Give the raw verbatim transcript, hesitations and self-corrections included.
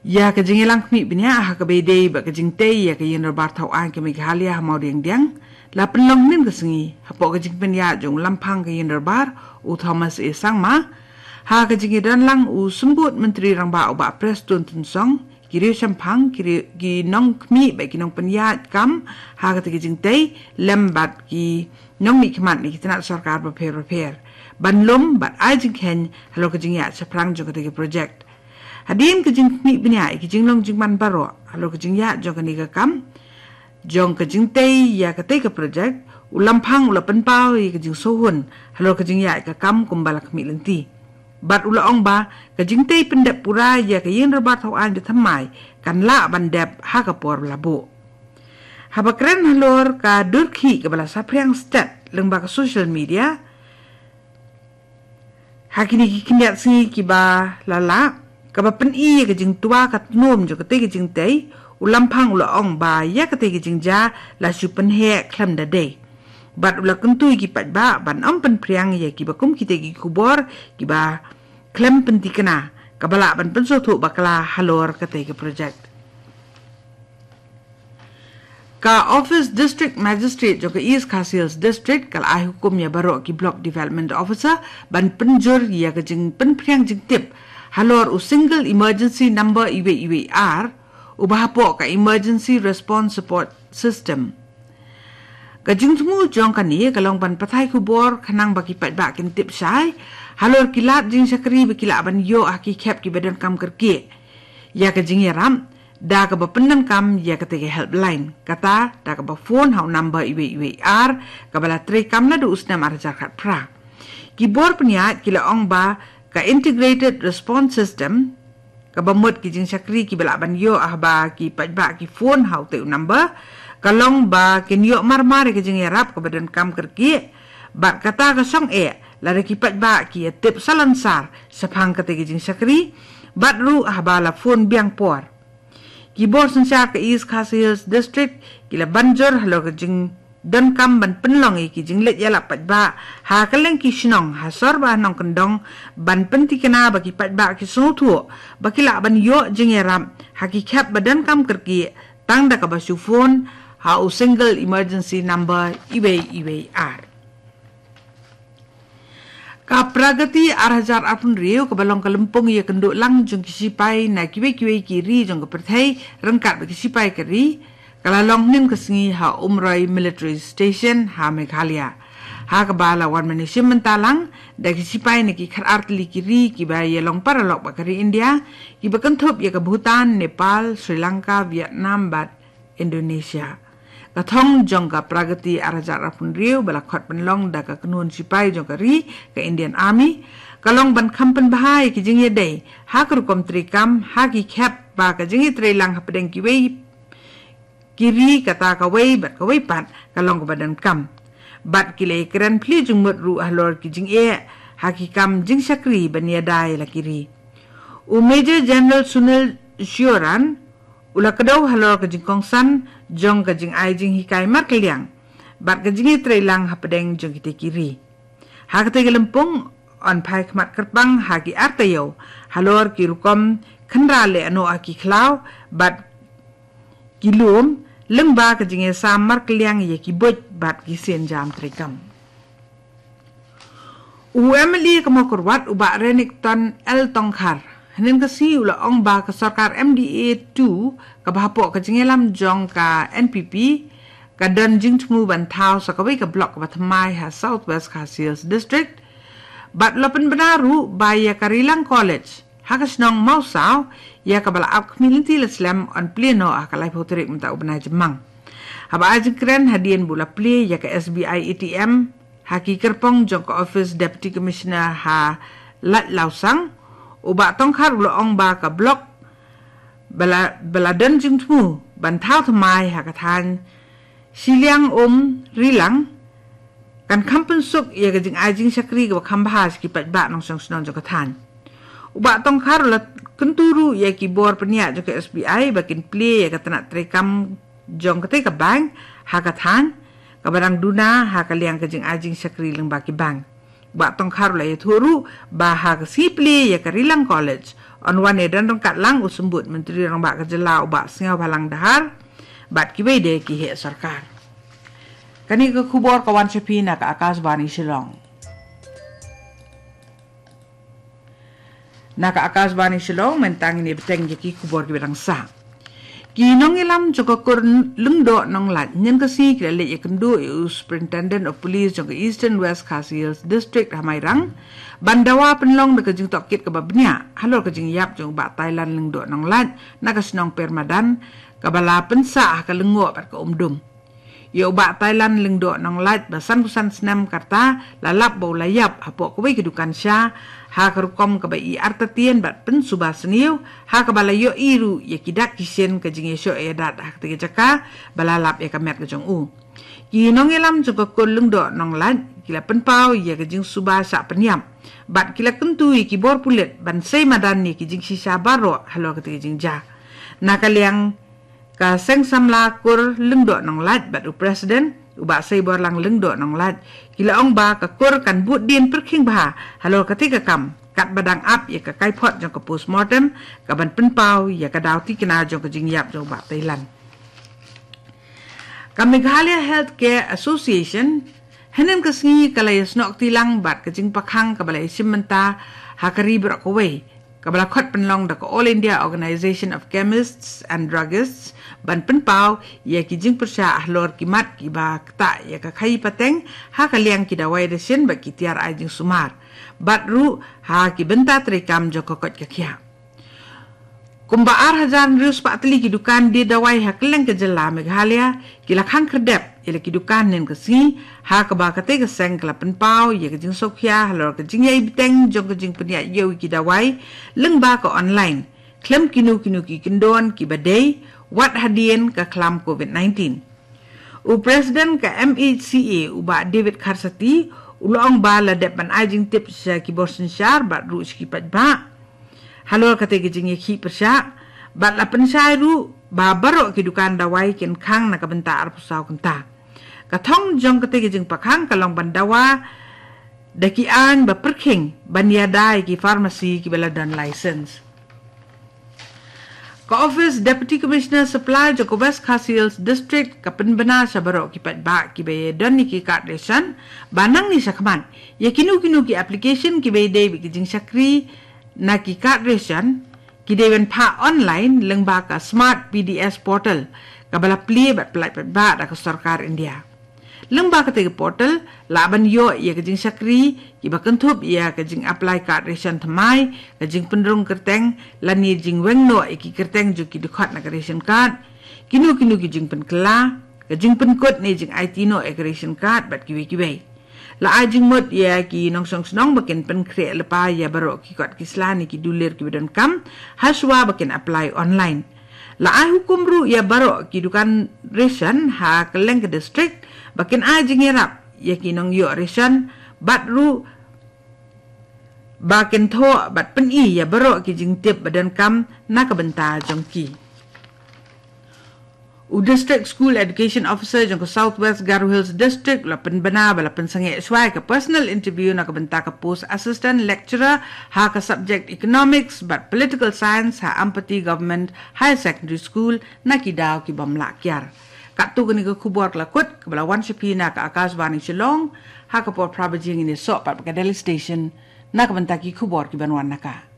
Ïa ka jingïalang khmih bniah ha kaba ïadei bad ka jingtei ïa ka Ïing Dorbar Thaw Aiñ ka Meghalaya ha Mawdiangdiang la pynlong hynnin ka sngi hapoh ka jingpynïaid jong u Lamphang ka Ïing Dorbar, u Thomas A Sangma, ha ka jingïadonlang u Symbud Myntri Rangbah u Bah Prestone Tynsong, ki riewshemphang, ki riew, ki nongkhmih bad ki nongpynïaid kam ha katei ka jingtei lem bad ki nongmihkhmat na ki tnat sorkar bapher bapher ban lum bad ai jingkheiñ halor ka jingïaid shaphrang jong katei ka projek. Hadien ka jingkhmih bniah ïa ki jinglong jingman baroh halor ka jingïaid jong kane ka kam jong ka jingtei ïa katei ka projek, u Lamphang u la pynpaw ïa ka jingsngewhun halor ka jingïaid ka kam kumba la khmih lynti. Bad u la ong ba ka jingtei pyndep pura ïa ka Ïing Dorbar Thaw Aiñ ba thymmai kan lah ban dep ha ka por ba la buh. Haba kren halor ka dur khih kaba la saphriang stet lyngba ka social media ha kine ki khyndiat sngi kiba la lah, kaba pyni ïa ka jingtwa ka tnum jong katei ka jingtei, u Lamphang u la ong ba ïa katei ka jingjia la shu pynheh khlem da dei. Bad u la kyntu ïa ki paidbah ban ym pynphriang ïa kiba kum kitei ki khubor kiba khlem pyntikna, kaba lah ban pynsngewthuh bakla halor katei ka projek. Ka Office District Magistrate jong ka East Khasi Hills District ka la ai hukum ïa baroh ki Block Development Officer ban pynjur ïa ka jingpynphriang jingtip halor u Single Emergency Number iwei iwei ar, uba hapoh ka Emergency Response Support System. Ka jingthmu jong kane ka long ban pathai khubor khnang ba ki paidbah kin tip shai halor ki lad jingshakri ba ki lah ban ïoh ha ki khep kiba donkam kyrkieh ïa ka jingïarap da kaba pyndonkam ïa katei ka helpline, kata da kaba phone ha u number iwei iwei ar, kaba la treikam naduh u snem ar hajar khatphra. Ki bor pynïaid ki la ong ba ka Integrated Response System, kaba mut ki jingshakri kiba lah ban ïoh haba ki paidbah ki phone ha utei u number, ka long ba kin ïoh marmar ïa ka jingïarap kaba donkam kyrkieh, bad kata ka shong eh lada ki paidbah ki ïatip salonsar shaphang katei ka jingshakri, bad ruh haba la phone biang por. Ki bor synshar ka East Khasi Hills District ki la ban jur halor ka jingdonkam ban pynlong ïa ki jingleit ïalap paidbah ha kylleng ki shnong, ha sor bad ha nongkyndong, ban pyntikna ba ki paidbah ki sngewthuh ba ki lah ban ïoh jingïarap ha ki khep ba donkam kyrkieh tang da kaba shu phone ha u Single Emergency Number iwei iwei ar. Ka Pragati ar hajar arphew hynriew, kaba long ka lympung ïakynduh lang jong ki shipai na kiwei kiwei ki ri jong ka pyrthei ryngkat bad ki shipai ka ri, ka la long hynnin ka sngi ha Umroi Military Station ha Meghalaya, ha kaba la wan ban ïashim bynta lang da ki shipai na ki khatar tylli ki ri kiba ïalong paralok bad ka ri India, kiba kynthup ïa ka Bhutan, Nepal, Sri Lanka, Vietnam bad Indonesia. Ka thong jong ka Pragati ar hajar arphew hynriew ba la khot pynlong da ka kynhun shipai jong ka ri, ka Indian Army, ka long ban kham pynbha ïa ki jingïadei ha ka rukom treikam ha ki khep ba ka jingïatreilang hapdeng kiwei ki ri, kata kawei bad kawei pat ka long kaba donkam. Bad ki la ïakren plie jingmut ruh halor ki jingeh ha ki kam jingshakri ban ïada ïa la ki ri. U Major General Sunil Shioran u la kdew halor ka jingkongsan jong ka jingai jinghikai markylliang bad ka jingïatreilang hapdeng jong kitei ki ri. Ha katei ka lympung yn phai khmat kyrpang ha ki ar taïew halor ki rukom khynra lehnoh ha ki khlaw bad ki lum, lyngba ka jingïasam markylliang ïa ki buit bad ki sienjam treikam. U MLA ka Mawkyrwat, u Bah Renikton L Tongkhar, hynnin ka sngi u la ong ba ka sorkar MDA two, kaba hapoh ka jingïalam jong ka NPP, ka don jingthmu ban thaw sa kawei ka block kaba thymmai ha South West Khasi Hills District. Bad u la pynbna ruh ba ïa ka Rilang College ha ka shnong Mawsaw, ïa kaba la ap khmih lynti la slem, yn plie noh ha ka laiphew tarik mynta u bnai Jymmang. Haba ai jingkren hadien ba u la plie ïa ka SBI ATM ha ki kyrpong jong ka ophis Deputy Commissioner ha Laitlawsang, u Bah Tongkhar u la ong ba ka block ba la, ba la don jingthmu ban thaw thymmai ha ka thaiñ Shiliang Um Rilang, kan kham pynsuk ïa ka jingai jingshakri kaba kham bha sha ki paidbah nongshong shnong jong ka thaiñ. U Bah Tongkhar u la kyntu ruh ïa ki bor pynïaid jong ka SBI ba kin plie ïa ka tnat treikam jong katei ka bank ha ka thaiñ, kaba dang duna ha ka liang ka jingai jingshakri lyngba ki bank. U Bah Tongkhar u la ïathuh ruh ba ha ka sngi plie ïa ka Rilang College, Yn wan ïadon ryngkat lang u Symbud Myntri Rangbah ka jylla u Bah Sniawbhalang Dhar bad kiwei de ki heh sorkar. Kane ka khubor ka wan sha phi na ka Akashvani Shillong. Na ka Akashvani Shillong, mynta ngin ïa bteng ïa ki khubor kiba dang sah. Ki nongïalam jong ka kur Lyngdoh Nonglait hynnin ka sngi ki la leit ïakynduh ïa u Superintendent of Police jong ka Eastern West Khasi Hills District ha Mairang ban dawa pynlong da ka jingtohkit kaba bniah halor ka jingïap jong u Bah Thailand Lyngdoh Nonglait na ka shnong Permadan, kaba la pynsah ha ka lyngngoh bad ka umdum. Ïa u Bah Thailand Lyngdoh Nonglait ba sanphew san snem ka rta la lap ba u la ïap hapoh kawei ka dukan sha ha ka rukom kaba ïa artatien bad pynsuba sniew, ha kaba la ïohi ruh ïa ki dak ki shin ka jingïashoh ïadat ha katei ka jaka ba la lap ïa ka met ka jong u. Ki nongïalam jong ka kur Lyngdoh Nonglait ki la pynpaw ïa ka jingsuba shah pynïap bad ki la kyntu ïa ki bor pulit ban sei madan ïa ki jingshisha baroh halor katei ka jingjia. Na ka liang ka Seng Samla Kur Lyngdoh Nonglait bad u President u Bah Seiborlang Lyngdoh Nonglait ki la ong ba ka kur kan bud dien pyrkhing bha halor katei ka kam katba dang ap ïa ka kaiphod jong ka postmortem kaban pynpaw ïa ka daw thikna jong ka jingïap jong u Bah Thailand. Ka Meghalaya Healthcare Association hynnin ka sngi ka la ïasnoh kti lang bad ka jingpakhang kaba la ïashim bynta ha ka ri baroh kawei, kaba la khot pynlong da ka All India Organisation of Chemists and Druggists ban pynpaw ïa ki jingpyrshah halor ki mat kiba ktah ïa ka khaïi pateng ha ka liang ki dawai dashin bad ki tiar ai jingsumar bad ruh ha ki bynta treikam jong ka koit ka khiah. Kumba ar hajar hynriew spah tylli ki dukan die dawai ha kylleng ka jylla Meghalaya ki la khang khyrdep ïa la ki dukan hynnin ka sngi, ha kaba katei ka seng ka la pynpaw ïa ka jingsngewkhia halor ka jingïaibteng jong ka jingpynïaid ïew ïa ki dawai lyngba ka online khlem kino kino ki kyndon kiba dei wat hadien ka khlam covid nineteen. U President ka M H C A u Bah David Kharsati u la ong ba la dep ban ai jingtip sha ki bor synshar bad ruh sha ki paidbah halor katei ka jingïakhih pyrshah bad la pynshai ruh ba baroh ki dukan dawai kin khang na ka bynta arphew saw kynta. Ka thong jong katei ka jingpakhang ka long ban dawa da ki aiñ ba pyrkhing ban ïada ïa ki pharmacy kiba la don license. Ka Office Deputy Commissioner Supply jong ka West Khasi Hills District ka pynbna sha baroh ki paidbah kiba ïadon ïa ki card ration ba nangne shakhmat ïa kino kino ki application kiba ïadei bad ki jingshakri na ki card ration ki dei ban phah online lyngba ka Smart P D S portal kaba la plie bad pyllait paidbah da ka sorkar India. Lyngba katei ka portal lah ban ïoh ïa ka jingshakri kiba kynthup ïa ka jingapply card ration thymmai, ka jingpynrung kyrteng lane jingweng noh ïa ki kyrteng jong ki dkhot na ka ration card, kino kino ki jingpynkylla, ka jingpynkut ne jingaiti noh ïa ka ration card bad kiwei kiwei. La ai jingmut ïa ki nongshong shnong ba kin pynkhreh lypa ïa baroh ki kot ki sla ne ki dulir kiba donkam hashwa ba kin apply online. La ai hukum ruh ïa baroh ki dukan ration ha kylleng ka district ba kin ai jingïarap ïa ki nongïoh ration bad ruh ba kin thoh bad pyni ïa baroh ki jingtip ba donkam na ka bynta jong ki. U District School Education Officer jong ka South West Garo Hills District la pynbna ba la pynsangeh shuwa ïa ka personal interview na ka bynta ka post Assistant Lecturer ha ka subject Economics bad Political Science ha Ampati Government Higher Secondary School na ki daw ki bym lah kiar. Katto kane ka khubor ka la kut kaba la wan sha phi na ka Akashvani Shillong, ha ka por phra baje ngin ïasoh pat bad ka Delhi Station na ka bynta ki khubor ki ban wan na ka.